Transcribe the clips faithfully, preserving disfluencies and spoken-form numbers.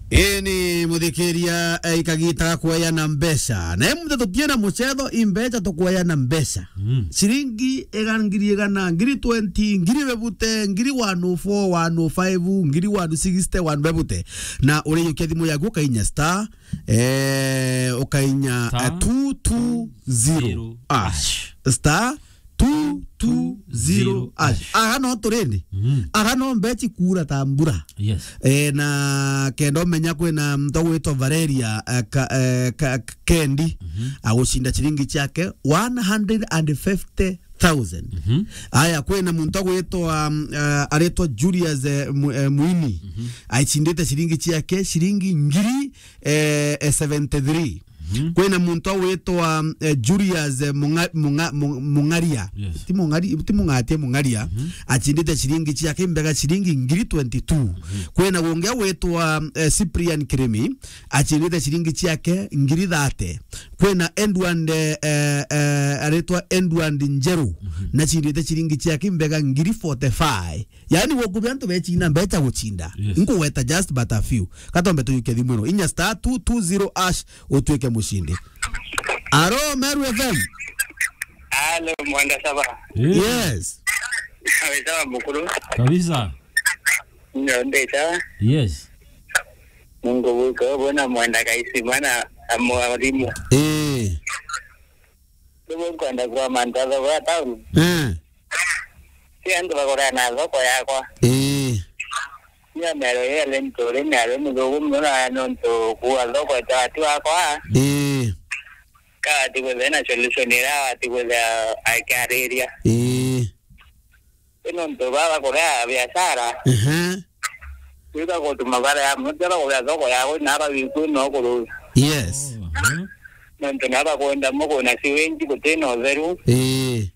Ini muthikiria, eh, ikagita ga kueana mbeca. Na imunthe tutiena mucetho, i mbeca tukueana mbeca. Mm. Ciringi ega-, ngiri igana, ngiri twenty, ngiri bebute, ngiri one oh four, one oh five, ngiri one sixty, one bebute. Na urijukia thimu yaku ukainya star, eh, ukainya, eh, Star two two zero hash. Star two two zero hash. Aga no turindi. Mm. Aga no mbechi kuura ta mbura. Yes. Eh, na kenda umenya kwina muntu gwitwa Valeria, eh, ka, eh, ka, Kendi, mhm, agucinda ciringi ciake one hundred and fifty thousand. Mhm. Aya, kwina muntu gwitwa, um, eh, aritwa Julius, eh, Mu-, eh, Muini. Mhm. Aicindite ciringi ciake ciringi ngiri, eh, eh, seventy three. Mhm. Kwina muntu witwa, eh, Julius, eh, Munga-, Munga-, Mu-, Mungaria. Yes. Ti Mungari-, ti Mungatia, Mungaria. Mhm. Acindite ciringi ciake imbega ciringi ngiri twenty two. Mhm. Kwina gungi witwa, eh, Cyprian Kirimi, acindite ciringi ciake ngiri thirty. Kwina Edward, eh, eh, eh, aritwa Edward Njeru, mhm, nacindite ciringi ciake imbega ngiri forty five. Yaani, gukubia antu becina mbecha gucinda. Yes. Nkugweta just but a few. Katombe tujukia thimu ino. Inya star two two zero hash utuike mucindi. Aro, Meru F M. Alo, Mwenda Saba. Eh. Yes. Wetagwa mukuru. Kabisa. Nyo ndeta. Yes. Mungu buko, bona Mwenda Kaisima na, na mwalimu. Eh. Niguo nkwenda kwa mantu a thogora town. Eh. Ti antu bagurana thoko yakwa. Eh. Nya mero ya lento ri ni ari muthugu muno na nontu kuwa thoko etwa ati wakwa. Eh. Ka ati gwetha na solution ira ati gwetha akiariria. Eh. Ino ntu baba kuria biashara. Ehe. Wika gutuma bara ya muntu ara kuria thoko yawe na aba wiku no kuru. Yes. Oh, ehe. Nontu na aba kwenda mugo na siwenji gutina utheru. Eh.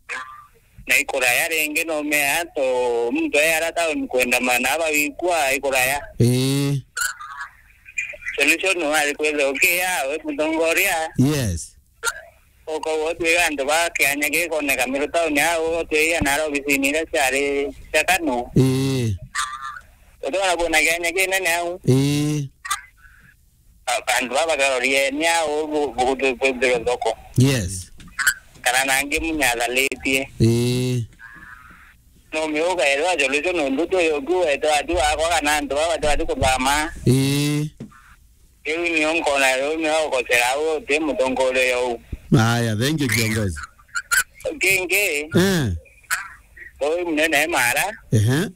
Na ikuraya ringi no mea to muntu ayara town kwenda mana aba wikua ikuraya. Eh. Solution wari kwetha ukia we mutongoria. Yes. Uko wotwira antu ba kianya gikoneka Meru town au, wotwira na obisini iria ciari cia Kanu. Ii. Utwara kuona kianya kinene au. Ii. A-, antu baba karorieni au bu-, bu-, bu-, bu-, bu-, thoko. Yes. Kana nangi munyathalitie. Ii. No miuga ethwa solution nontu tu yoku wetwa atu akwa kana antu baba twati kuthama. Ii. Riu nio nkona riu nio ukocera au uti mutongoria uu. Aya, thank you, kiongozi. Kingi, eh, uu munene Mara, ehe,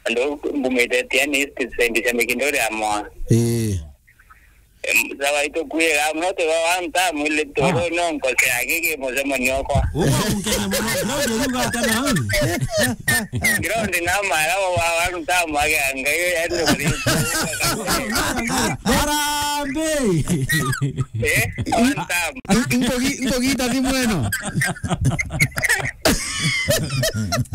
andu mbumite Tiani East, sendi cia Mikindori ya Moa. Eh. Em, sawa, itukwira, muno tu wa one time, ile tu, ah, no nkocera gigi mucemanio okwa. Uga unkenya muno, Claudia, riu gatana au. Ground na mara wa one time age angai, yani, Harambee! Eh? One time. Nkugi-, nkugita thimu ino.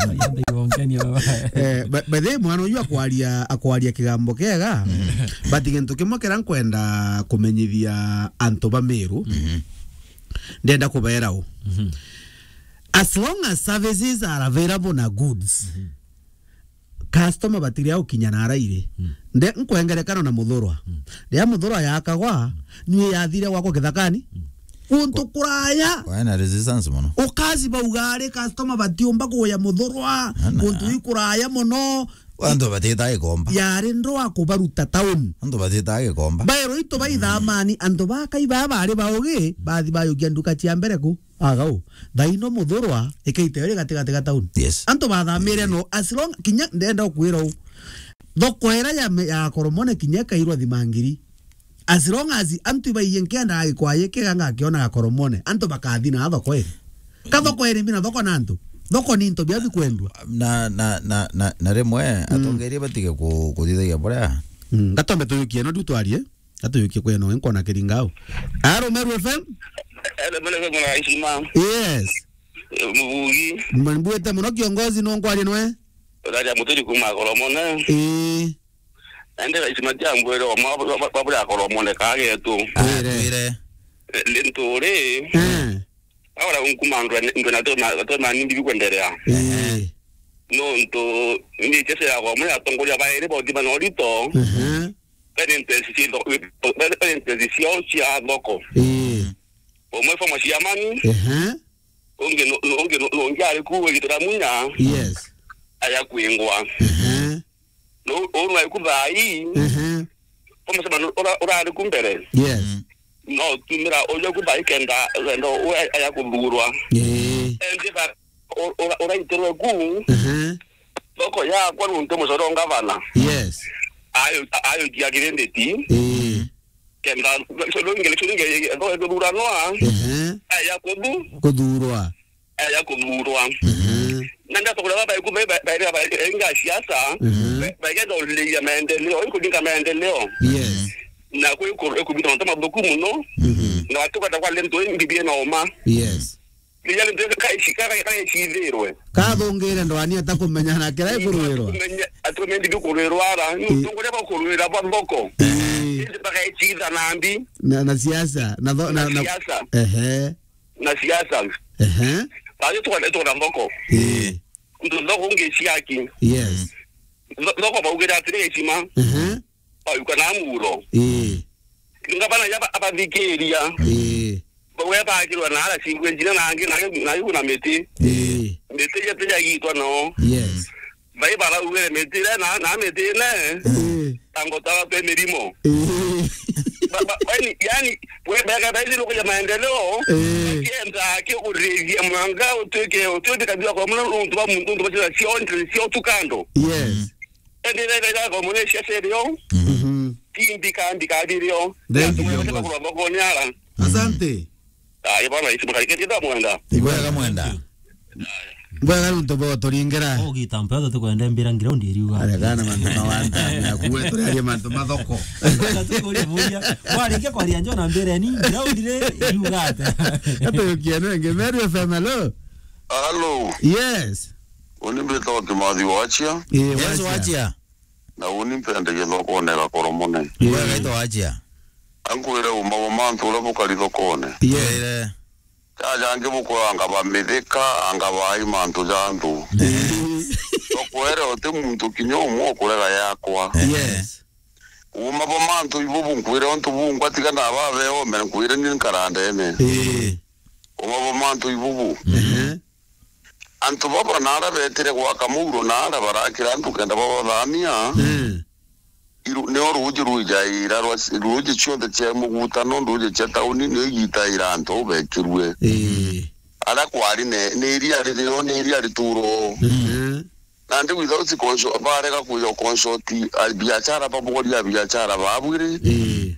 Yende igonkenia baba. Eh, ba-, by the way, mwana uyu akwaria, akwaria kigambo kiega. Mm. But gintu kimwe kiria nkwenda kumenyithia antu ba Meru, mhm, ndenda kubera u. Mhm. As long as services are available na goods, mhm, customer batiria gukinya na arairi. Mm. Nde nkwengerekano na muthurwa. Mm. Ria muthurwa yakagwa, mm, ni yathire gwakwa githakani. Mm. Guntu kuraya. Kwa-, kwaina resistance muno. Ukazi bauga ari customer batiumba kuya muthurwa. Ana. Guntu ikuraya muno. Antu batitaga gikomba. Yari ndwa kubaruta town. Antu batitaga gikomba. Baero itu baithamani, antu bakai baba bari baugi, bathi bayukia nduka cia mbere ku. Agau, thaino muthurwa ikaite iri gatigati ga town. Yes. Antu bathamire no, as long, kinya ndenda ukwira u. Thoko ira ya me-, ya Koromone kinya ikairwa thimangiri. As long as antu ibaiye nkenda gikwaye kiega ngakiona ga Koromone, antu bakathi na thoko iri. Ka thoko iri mbina thoko na antu. Thoko ni into bia bikwendwa. Na, na, na, na, na rimwe, mm, atongeria batige ku-, kuthithagia buria. Mm, ngatombe tuyukie no ndu twarie. Atuyukie kweno, nkona kiringa au. Aro, Meru F M? Ele mele mwana isima. Yes. Eh, Mubugi. Mbuite muno kiongozi, no nkwarie nwe? Uraja muturi kuma Koromone. Eh. Ende isima jambo ero, ma, ma, ma, mabura Koromone kagetu. Ah, twire. Twire. Eh, linturi. Eh. Ahora nkuma ndo, ndo na toma, toma nindi bikwendelea. Eh. No nto, ni chese ya kwa mwana atongoria baere bothi bana orito. Mhm. bena interest cia tho-, bena interest ciao cia thoko. Ii. Umwe former chairman, ehe, ungi nu-, nu-, ungi nu-, nungi ari ku wigitira munya, yes, aya kwingwa. Ehe. Nu-, unu ari ku thaa ii, ehe, former chairman ura-, urari ku mbere. Yes. Mm. No tumira uju ku thaa ii kenda wenda u-, aya kuthurwa. Ii. Endi ba-, u-, ura-, uraitirwe ku, ehe, thoko yakwa nuntu mucore wa ngavana. Yes. Ayo, ayo jia kirinditi. Ii. Kenda, so, no ingele, so, ingele, no, ethurwa noa. Ehe. Aya kuthu-, kuthurwa. Aya kuthurwa. Ehe. Na ndio tukura baba iku, ba, ba, ba, ba, inga siasa. Ehe. Ba, ba, kenda uliria maendeleo, ikulinga maendeleo. Yes. Na kwi ku-, ikubita na mathuku muno. Mhm. Na watu kwenda kwa lento mbibie na oma. Yes. Riria rintu riri kaeci-, ka-, ka-, kaecithirwe. Kathungire ndwani atakumenya na kira ikurwirwa. Atukumenya, atukumenya ndi kurwirwa ara. Ni, ii, utongoria bwa kurwira bwa thoko. Ii. Indi bagaecitha na mbi. Na, na siasa, na tho-, na, na, na siasa. Ehe. Na siasa. Ehe. Baadhi tuka-, tuka na thoko. Ii. Ndu thoko ungi ciaki. Yes. Tho-, thoko baugira atiri ecima. Ehe. Bauka na muro. Ii. Ngavana yaba abathikiria. Ii. Bawe bakirwa na ara cingwe njira na angi na, na igu na miti. Ii. Miti yetu yagitwa no. Yes. Bai baraugire miti ira na, na miti ine. Ii. Tango tara pe mirimo. Ii. Ba, ba, yani, yani, we bega bai ni kuja maendeleo. Ii. Kienda kio kurithia mwanga utwike, utwike kabisa kwa muna untu ba muntu, untu ba sio, sio tukando. Yes. Indi rega rega kwa mune cia serio. Mhm. Timbi kandi kabirio. Thank you, kiongozi. Kurwa boko nyara. Asante. Ah, ibana isi bakari kete da mwenda. Ibwega mwenda. Mbwega nuntu bo turingera. Ugita mpesa tukwenda mbira ground iriuga. Aregana mantu mawanta, na kuwe turaria mantu mathoko. Tukuria buria. Warikia kwaria njo na mbere ni ground ri iriuga ata. Atukia nenge Meru F M, hello. Hello. Yes. Uni mbitagwa Kimathi Wachia. Ii, yes, Wachia. Wachia. Na uni mpendagia thokone ya Gakoromone. Ii. Wega ito Wachia. Ankwire uma bo mantu uria bukari thokone. Ii. Ire. Jaja angi bukwanga ba mithika, anga bai mantu ja antu. Ii. Tokwere uti muntu kinya umwe ukurega yakwa. Yes. Uma bo mantu ibubu nkwire untu bungwa tiga na babe ome nkwire ni nkarandene. Ii. Uma bo mantu ibubu. Ehe. Antu baba nara betire gwaka muuro nara barakira antu kenda babathamia. Mm. Iru-, nio ruuji rwijaira rwa, ruuji cionthe cia mugutano, nduuji cia tauni, nio igitaira antu bekirue. Ii. Aria kwari ne, ni iria ririo, ni iria rituro. Mhm. Nandi without consult, barega kwija consult, a, biashara, baboria biashara babwire. Ii.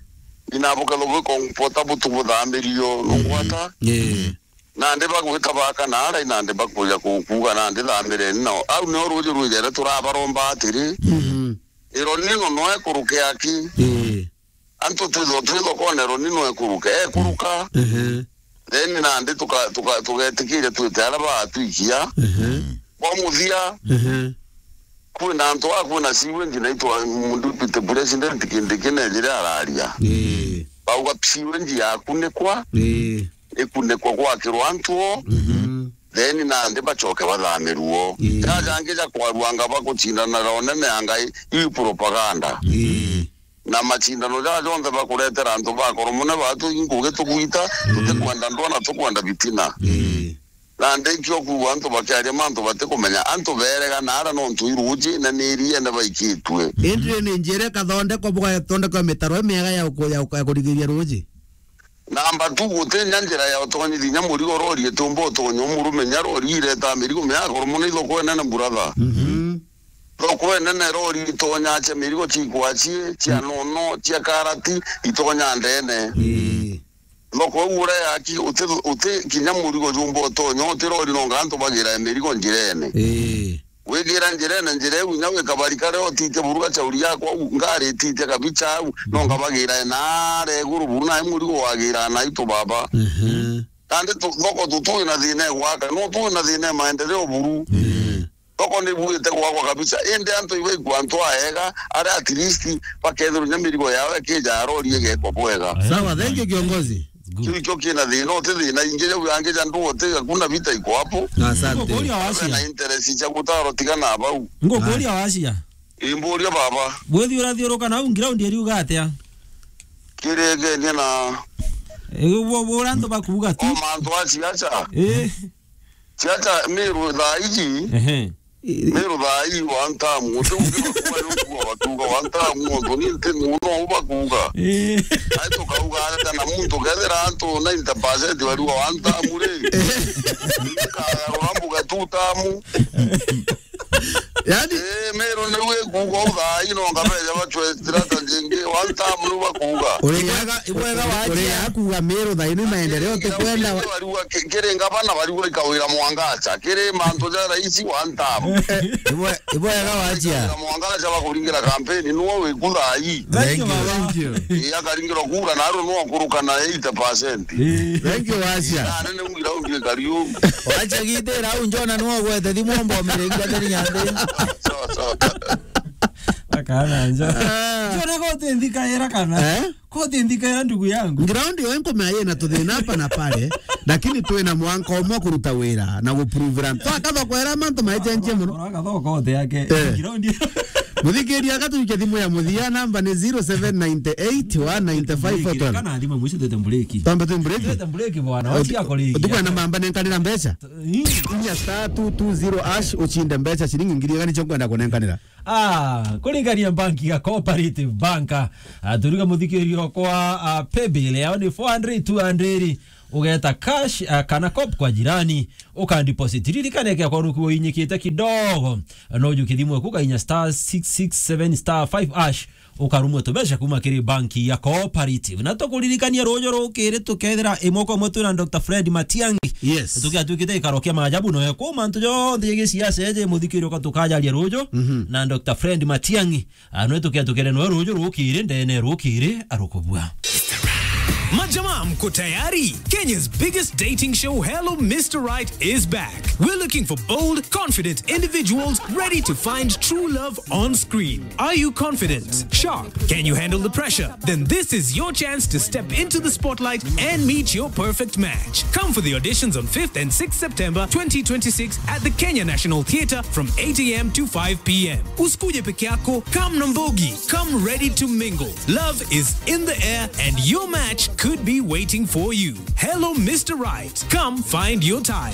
Ina bukethwa bwi comfortable butu buthamirio, nungwata. Ii. Nandi bagwita baka nara, nandi bakuja ku-, kuuga nandi thamireni nao. Au nio ruuji rwijere turabaromba atiri, mhm, El Nino no ekuruke aki. Ii. Antu twithwa twi thokone, El Nino ekuruke, ekuruka. Mhm. Then nandi tuka-, tuka-, tugetikiria twite aria baatwikia. Mhm. Kwa muthia, mhm, kwina antu a, kwina sewage naitwa deputy president kindi kinejire araria. Ii. Bauga sewage yakunikwa, ii, ikunikwa gwakirwa antu o, mhm, then nandi bacoke bathamirwo. Ii. Jaja angi ja kwarua anga bagucindana na unene ya Ngai, iu propaganda. Ii. Na macindano jaja jonthe bakuretera antu ba Koromone batu inkugi tugwita, mm, tutikwenda ndwaa na tukwenda bitina. Ii. Nandi nkio kuuga antu bakiaria mantu batikumenya, antu berega nara nontu iruuji na ni iriene baikitue. Indi ni njira ikathondekwa, bugathondekwa mitaro imiega ya uku-, ya uku-, ya kurigiria ruuji? Namba tu, guti nya njira ya utonyithia nya murigo rori itiumba utonya umurume nya rori ireta mirigo mia Koromone ithoko enene brother. Mhm. Thoko enene rori itonya cia mirigo cia ikwachie, cia, mm, nono, cia karati, itonya ndene. Ii. Thoko iu uria yaki, uti, uti kinya murigo jumba utonya, uti rori nonga antu bagira mirigo njirene. Ii. Wigira njirene, njira iu inya wikabari karia utitie buruga chauri yakwa au, ngari ititie kabicha au, nonga bagira nara iguru buru, na murigo wagira na itu baba. Mhm. Nandi tu-, thoko tutui na thina ya gwaka, no tui na thina ya maendeleo buru. Mhm. Thoko ni buite gwakwa kabisa, indi antu ibaikua antu aega, aria at least bakethirwa nya mirigo yao ikija ya rori igekwa bwega. Sawa, thank you, kiongozi. Good. Kiu ikio kina thina, uti thina ingi jau yangi ja ndu uti, hakuna vita iko hapo. Asante. Ngukuria Wacia. Na interest cia gutaro tigana bau. Ngukuria Wacia. Imburia baba. Bwithiurathiuruka nau ground iriuga atia? Kiregenia na Ĩ, bu-, bu-, uria antu bakuuga tu. O mantu a siasa. Ĩ. Siasa Meru thaa iji. Ehe. Meru thaa ii one term. Uti ungi bakuuga ni ukuuga bakuuga one term, nontu ni nti muno u bakuuga. Ĩ. Ai tukauga atia na muntu kethira antu ninety percent bariuga one term ri? Kagarura mbuga two term. Yani? Eh, Meru niu ikuuga u thaa ino ngabeja bacwe strategy ingi. One term niu bakuuga. Uri ya-, Ibwega, ibwega uri, wachia. Uri ya kuuga Meru thaa ino maendeleo tukwenda wa- Bariuga ki-, kiri ngavana bariuga ikawira Mwangacha. Kiri mantu ja raisi one term. Ibwe-, ibwega wachia. Ikawira Mwangacha bakuringira kampeni, nuo wiku thaa ii. Thank you, Thank you. Baba. Thank you. Ii, akaringirwa kura, na aru nuo akuruka na eighty percent. Ii. Thank you, wachia. Na nene ungira ungie kariu. Wacha gitira au njona no gwete thimu mbomere ngwa tari nyande. Sawa, sawa. Akana nja. Ah. Njona kote nthika era kana. Eh? Kote nthika era ndugu yangu. Ground yo nkomea yena tuthina hapa na pale, lakini twina mwanka umwe kuruta wira na gupruvira. Twakatho kwera mantu maichenjie muno. Ora katho kote yake. Eh. Ground. Muthikiria akatuikia thimu ya muthia, namba ni zero seven nine eight one nine five four twelve. Kana thimũ mwisho twete mbureki. Twambe twi mbureki? Twete mbureki bwana, wachi yako rigi. Utukwenda mamba nenkanira mbeca? Ii. Inya star two two zero hash, uchinde mbeca ciringi ngiri igana nicio nkwenda kunenkanira. Ah, kuringania banki ya Cooperative Bank. Ah, turiga muthikirio kwa, ah, paybill yao ni four hundred, two hundred. Ugeta cash, ah, kana cop kwa jirani. Uka deposit. Ririkane kia kwa nuku uinyikite kidogo. No ujuke thimu yaku ukainya star six six seven star five hash. Ukarumwe tubeca kuma kiri banki ya Cooperative. Na tukuririkania ruju rukiri tukethira imwe kwa imwe twina Doctor Fred Matiang'i. Yes. Tukiatuikite gikaro kia maajabu noe kuma ntu jonthe jigi siasa eje muthikirio ka tukajaria ruju. Mhm. Na Doctor Fred Matiang'i. Ah, nwe tukia tukere noe ruju rukiri ndene rukiri arukubua. Majamaa, mko tayari? Kenya's biggest dating show, Hello Mister Right, is back. We're looking for bold, confident individuals ready to find true love on screen. Are you confident? Sharp? Can you handle the pressure? Then this is your chance to step into the spotlight and meet your perfect match. Come for the auditions on fifth and sixth September twenty twenty-six at the Kenya National Theatre from eight a m to five p m. Usikuje peke yako, come na mbogi, come ready to mingle. Love is in the air and your match could be waiting for you. Hello, Mister Right. Come find your type.